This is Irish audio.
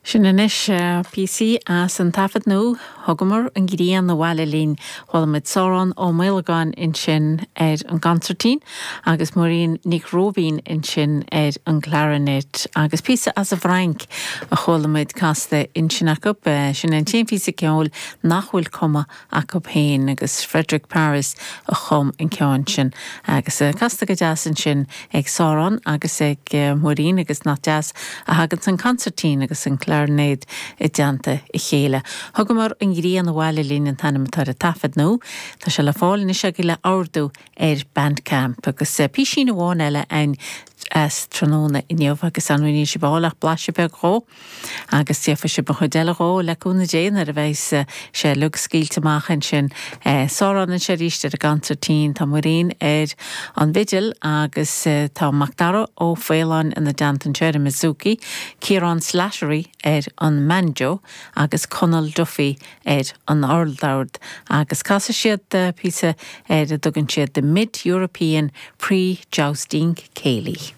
Sin anois píosaí as an taifead nua, Thugamar an Ghrian Abhaile Linn. Chuala muid Sárán Ó Maolagáin ansin ar an gconsairtín agus Muirín Nic Róibín ansin ar an gclarinet. Agus píosa as an bhFrainc a chuala muid casta ansin acu. Sin é an t-aon phíosa ceoil nach bhfuil cumtha acu féin agus Frederick Paris a chum an ceann sin agus casta go deas ansin ag Sárán agus ag Muirín agus nach deas a thaganns an consairtín agus an clarinéad i dteannta a chéile. Thugamar an Ghrian Abhaile Linn an t-ainm atá ar an taifead nua. Tá sé le fáil anois agaibh le ordú ar Bandcamp agus písín amháin eile againn as tráthnóna inniu agus ar ndóigh níl sibh a fháil ach blaiseadh beag dhó. Agus gheobhaidh sibh an chuid eile dhó, le cúnamh Dé, nuair a bheidhs sé uilig scaoilte amach ansin. Sárán anseo arís ar an gconsairtín, tá Muirín ar an bhfidil agus tá Macdara Ó Faoláin ina dteannta anseo ar an mbouzouki, Ciarán Slattery ar an mbanjo agus Conall Duffy ar an urldord. Agus casfaidh siad píosa ar a dtugann siad 'The Mid-European Pre-Jousting Céilí'.